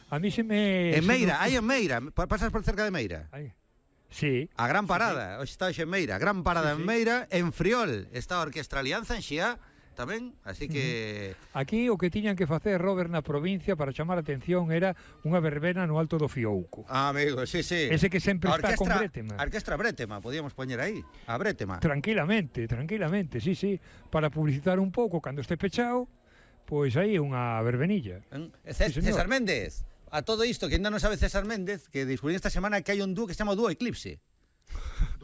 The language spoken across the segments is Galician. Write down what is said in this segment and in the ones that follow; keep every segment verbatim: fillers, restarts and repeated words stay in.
A mí se me... En Meira, hai en Meira, pasas por cerca de Meira. Aí. Sí. A gran parada, hoxe está hoxe en Meira, gran parada sí, sí. en Meira, en Friol está a Orquestra Alianza en Xiá tamén, así que... Aquí o que tiñan que facer, Robert, na provincia para chamar a atención era unha verbena no Alto do Fiouco. Ah, amigo, sí, sí. Ese que sempre a está orquestra, con Brétema. A Orquestra Brétema, podíamos poñer aí, a Brétema. Tranquilamente, tranquilamente, sí, sí, para publicitar un pouco cando este pechado, pois aí unha verbenilla. ¿Eh? C sí, César Méndez, a todo isto que ainda non sabe César Méndez, que descubrí esta semana que hai un dúo que se chama Dúo Eclipse.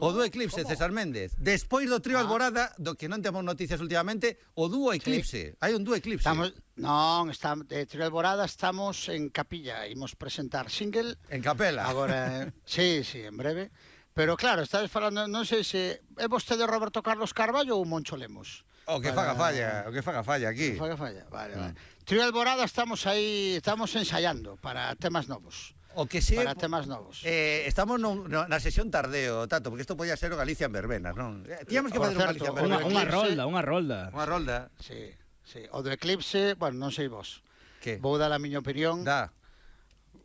O Dúo Eclipse, ¿cómo? César Méndez. Despois do trío ah. Alborada, do que non temos noticias últimamente, o Dúo Eclipse. Sí. Hai un Dúo Eclipse. Estamos, non, está, de trío Alborada estamos en Capilla. Imos presentar single. En Capela. Agora, sí, sí, en breve. Pero claro, estades falando, non sei se é vostede Roberto Carlos Carballo ou Moncho Lemos. O que para... faga falla, o que faga falla aquí. O que faga falla, vale, mm. vale. Trío Alborada estamos aí, estamos ensaiando para temas novos. O que sí, para temas novos. Eh, estamos no, no, na sesión tardeo, Tato, porque isto podía ser o Galicia en verbenas, non? Eh, Tíamos que fazer un Galicia en verbenas. Unha rolda, unha rolda. Unha rolda. Sí, sí. O do Eclipse, bueno, non sei vos. Que? Vou dar a miña opinión. Da.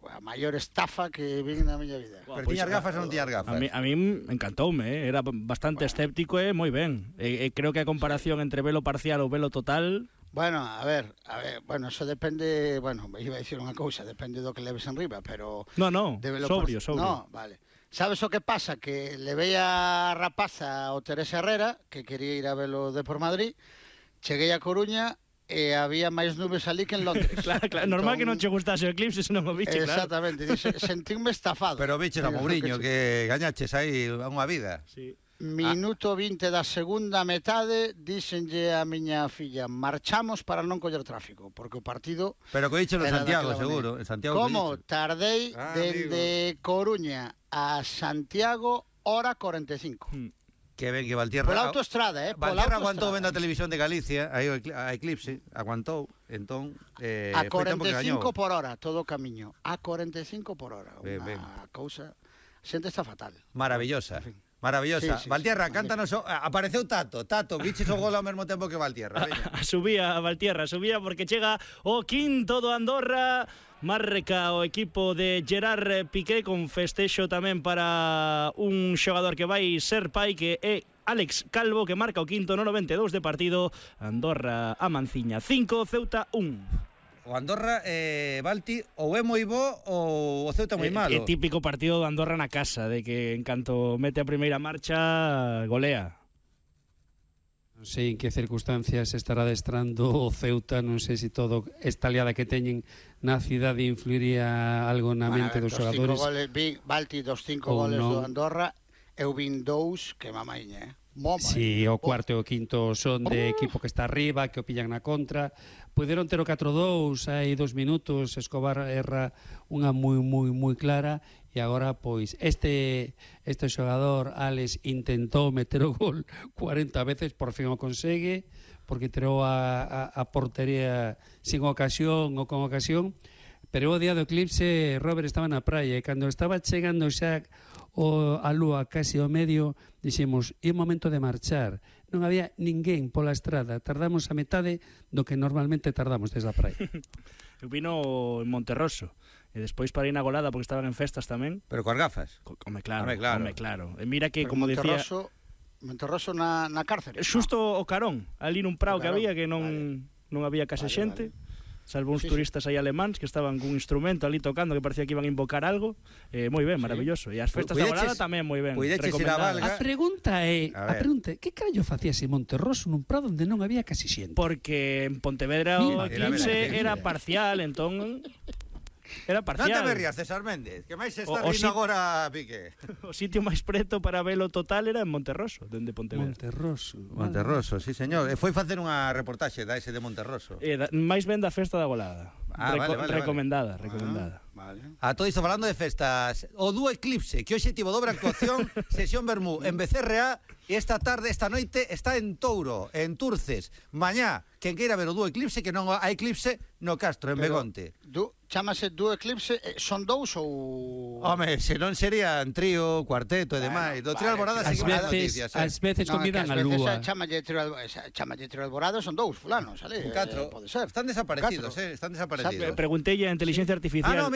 A maior estafa que vi na miña vida. Pero pues, tiñas gafas ou non tiñas gafas? A mí, a mí encantoume, eh? Era bastante bueno. escéptico e eh? moi ben. E, eh, creo que a comparación entre velo parcial ou velo total... Bueno, a ver, a ver, bueno, eso depende, bueno, iba a dicir unha cousa, depende do que leves en riba, pero... No, no, sobrio, por... sobrio. No, vale. Sabes o que pasa? Que levei a rapaza o Teresa Herrera, que quería ir a velo de por Madrid, cheguei a Coruña e había máis nubes ali que en Londres. Claro, claro, entón... normal que non che gustase o Eclipse se non o biche, claro. Exactamente, dice, sentínme estafado. Pero biches a Mourinho, que, que gañaches aí unha vida. Sí. Minuto vinte da segunda metade, díxenlle a miña filla, marchamos para non coller tráfico, porque o partido... Pero que dicho en Santiago, seguro. En Santiago como? Tardei ah, dende amigo. Coruña a Santiago, hora cuarenta e cinco. Hmm. Que ben que Valtierra... Pola autoestrada, eh? Valtierra aguantou vendo a televisión de Galicia, aí a Eclipse, aguantou, entón... Eh, a cuarenta e cinco por hora, todo o camiño. A cuarenta e cinco por hora. Ben, unha ben. cousa... Xente está fatal. Maravillosa. En fin. Maravillosa. Sí, sí, Valtierra, sí, cántanos... O... Apareceu Tato. Tato, biches o gol ao mesmo tempo que Valtierra. Veña. Subía a Valtierra, subía porque chega o quinto do Andorra. Marca o equipo de Gerard Piqué con festexo tamén para un xogador que vai ser pai, que é Alex Calvo, que marca o quinto no noventa e dous de partido. Andorra a Manciña cinco, Ceuta un. O Andorra, eh, Balti, ou é moi bo ou o Ceuta moi malo. É típico partido do Andorra na casa, de que en canto mete a primeira marcha, golea. Non sei en que circunstancias estará adestrando o Ceuta, non sei se todo esta liada que teñen na cidade influiría algo na bueno, mente ver, dos xogadores. Goles, vi, Balti, dos cinco goles no. do Andorra, eu vin dous que mamaiña, eh? Moma, si, sí, o cuarto e o quinto son de equipo que está arriba, que o pillan na contra. Puderon ter o catro dous hai dos minutos, Escobar erra unha moi moi moi clara, e agora pois este este xogador Alex intentou meter o gol cuarenta veces, por fin o consegue, porque tirou a, a, a portería sin ocasión ou con ocasión. Pero o día do Eclipse, Robert estaba na praia, e cando estaba chegando xa o, a lúa casi ao medio, dixemos, é momento de marchar. Non había ninguén pola estrada, tardamos a metade do que normalmente tardamos desde a praia. Eu vino en Monterroso, e despois para ir na golada porque estaban en festas tamén. Pero coas gafas? Home, claro, home, claro. Home, claro. E mira que, pero como Monterroso, decía... Monterroso na, na cárcere. Xusto no. o Carón, ali nun prao que había, que non, vale. non había case vale, xente. Vale. Salvo uns sí, turistas aí alemáns que estaban cun instrumento ali tocando, que parecía que iban a invocar algo. Eh, moi ben, sí. Maravilloso. E as festas da golada tamén moi ben. A pregunta é, a, a pregunta é, que carallo facías en Monterroso nun prado onde non había casi xente? Porque en Pontevedra o Eclipse era parcial, entón era parcial. Non te berrías, César Méndez, que máis se está rindo agora Piqué. O sitio máis preto para velo total era en Monterroso, dende Pontevedra. Monterroso. Monterroso, sí, señor. E foi facer unha reportaxe da ese de Monterroso. Eh, da, máis ben da festa da golada. Ah, Reco vale, vale, recomendada, vale. recomendada. Ah, vale. A todo isto falando de festas, o Dúo Eclipse, que hoxe tivo dobre actuación, sesión Bermú en B C R A, e esta tarde, esta noite, está en Touro, en Turces. Mañá, quen queira ver o Dúo Eclipse, que non hai Eclipse no Castro, en Pero, Begonte. Du, chamase Dúo Eclipse, son dous ou... Home, se non serían trío, cuarteto e demais. Bueno, do Trío Alborada sí, seguimos as veces, as veces no, convidan a lúa. Chamalle Trío Alborada son dous fulanos, ale? Catro. Eh, pode ser. Están desaparecidos, eh, están desaparecidos. Preguntei a inteligencia artificial. Ah, no,